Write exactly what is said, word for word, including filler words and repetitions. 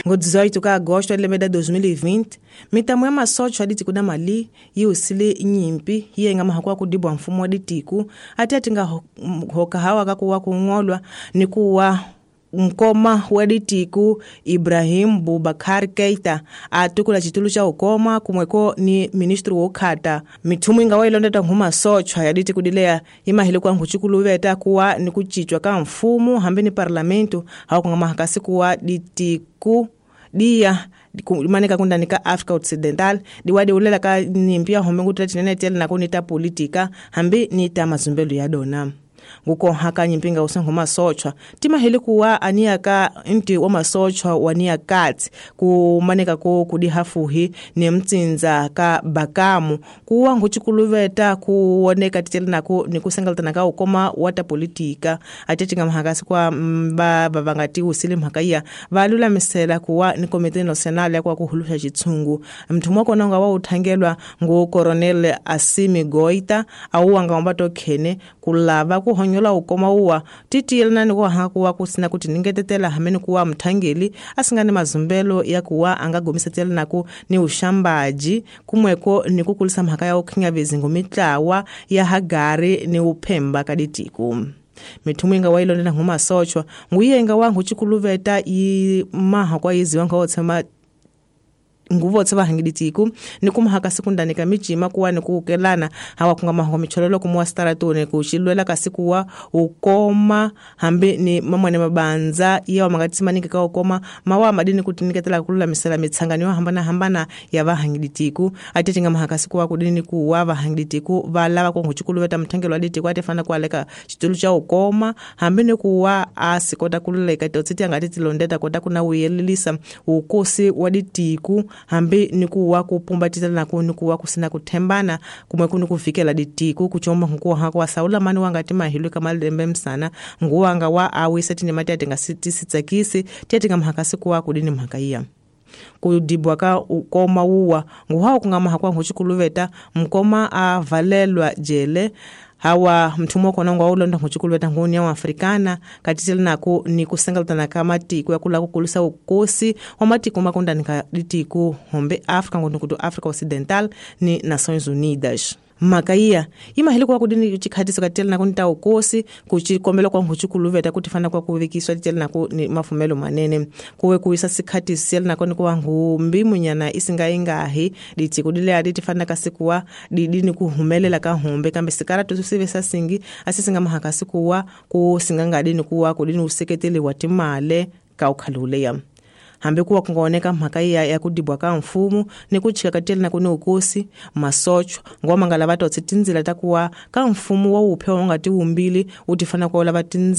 Ngo dezoito ka agosto lembe da dois mil e vinte, mitamo ya masocho ya ditiko da Mali yi usile nyimpi yi nga mahakwa kudibwa mfumo wa ditiko ati atinga hoka hawa kakuwa kungolwa ni kuwa mkoma wa ditiku Ibrahim Boubacar Keita atukula chitulu cha ukoma kumweko ni ministru wokhata mithumu inga wa ilondeta nghuma sochwa ya ditiku dilea imahile kwa nkhuchikuluveta kuwa ni kuchichwa ka mfumo hambi ni parlamento hawa kunga mahakasi kuwa ditiku dia manika kundani ka Africa Occidental diwadi ulela ka nimpia hombe ngutula tinene tele na kunita politika hambi ni ta mazumbelu ya dona. Nguko haka nyimpinga usengo masochwa timahili kuwa ania ka nti wa masochwa wania kati kumaneka ko kudihafuhi ni mtsinza ka bakamu kuwa nguchikuluveta kuoneka titele nako ni kusengaltana ka ukoma wata politika atetinga mahakasi kwa mba bavangati usile mhakaiya valula misela kuwa ni komite national ya kwa kuhulusha chitsungu mtumwa kononga wa uthangelwa ngu Colonel Assimi Goita au wanga ombato khene kulava kuhonyola ukoma uwa titiyelana ni kuha kuwa kusina kuti ningetetela hamene kuwa mthangeli asingane mazumbelo ya kuwa angagomisa tela nako ni ushambaji kumweko ni kukulisa mhaka ya ukhinya vizingo mitlawa ya hagari ni uphemba kaditiku. Mithumu inga wa ilondela nguma sochwa nguye inga wa nguchikuluveta i maha kwa iziwa nga otsema nguvo tseva hangiditiku ni kumhaka sekundani ka mijima kuwa ni kuukelana hawa kunga maho michololo kumuwa staratone kuchilwela kasi kuwa ukoma hambi ni mamwane mabanza iya wamangati maningi ka ukoma mawa madini kutiniketela kulula misela mitsanganyo hambana hambana ya vahangiditiku atetinga mahakasi kuwa kudini kuwa vahangiditiku valava kwa nguchikuluveta mthengelo aditiku atefana kualeka chitulu cha ukoma hambi ni kuwa asikota kululeka totsiti angati tilondeta kota kuna uyelilisa ukosi waditiku hambi ni kuwa kupumbatitana nako ni kuwa kusina kuthembana kumwe kuni kuvikela ditiku kuchomba nkuwa hako saula mani wangati mahilwe kama lembe msana nguwanga wa awisa tine mati atinga sitsakisi tiatinga mhakasi kuwa kudini mhakaiya kudibwa ka ukoma uwa nguhawo kungama hakwa nguchikuluveta mkoma avalelwa jele hawa mtumwa kona ngwa ulonda nguchikuluveta ngunia wa Afrikana katitela nako ni kusengaltana kama tiku ya kula kukulusa ukosi wa matiku makunda nika ditiku hombe Afrika ngundukutu Africa Occidental ni Nações Unidas. Makaia imahili kwa kudini chikhatiso katitela nako nita ukosi kuchikombela kwa nguchikuluveta kutifana kwa kuvikiswa titela nako ni mafumelo manene kuwe kuisa sikhatiso siyela nako ni kuwa ngumbi munyana isinga ingahi ditiku dile aditifana kasikuwa didini kuhumelela ka humbe kambe sikara tusive sasingi asisinga mahakasi kuwa kusingangadini kuwa kudini useketeli watimale ka ukhaluleya. Hambi kuwa kungaoneka mhaka ya ya kudibwa ka mfumo ni kuchika katela na kuni ukosi masochwa ngoma ngala vatotsi tindzila ta kuwa ka mfumo wa uphe wa ngati umbili utifana kwa lava tindzila.